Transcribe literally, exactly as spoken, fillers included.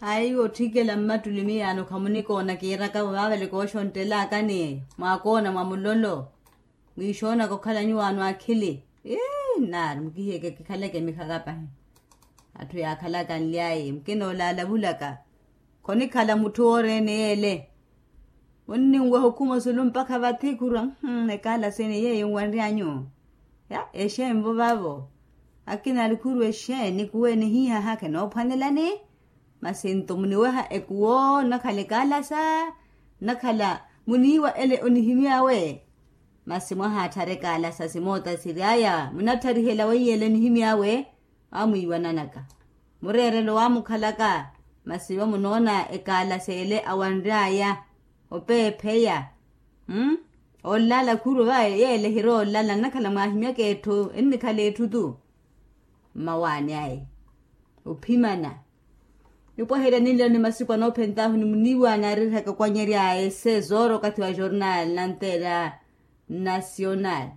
Ayi otthikela mmattuli miyaano khamunikoona kiiraka vavale kooxonttelaka ni mwaakoona mwa mulolo. Mwiixoonaka okhala nyuwaano akhili. Iii nnaari mukihiyeke kikhaleke mikhaka pahi. Atthu yaakhalaka nly'aye mukina ola alavulaka. Khonikhala mutthu wooreene yeele. Munninweha okhuma osulu mpakha vathi khurwa. Ekaalasi ene yeeyo nwanry'anyu? Ya exeenvo vavo. Akina alikhurwa exeeni kuwe nihiihaha khenoophwanelani. Masi nto muniweha ekuwo nnakhala ekaalasa nnakhala muniiwa ele onihimy'awe. Masi mwahaatthara ekaalasa simoota siry'aya munatthariha ela weiye ele onihimy'awe. Aamwiiwananaka mureerelo waamukhalaka. Masi iwo munoona ekaalasa ele awanry'aya opeepheya. Oolala khuru va yeele ehiroollala nnakhala mwaahimyaka etthu ennikhala etthu tu. Mmawaani aye ophimana. Nipwaherya ninlelo ni masiku anoophent'ahu ni muniiwa naariirihaka okwanyery'aya esezooro okathi wa jornal nanteera nasional.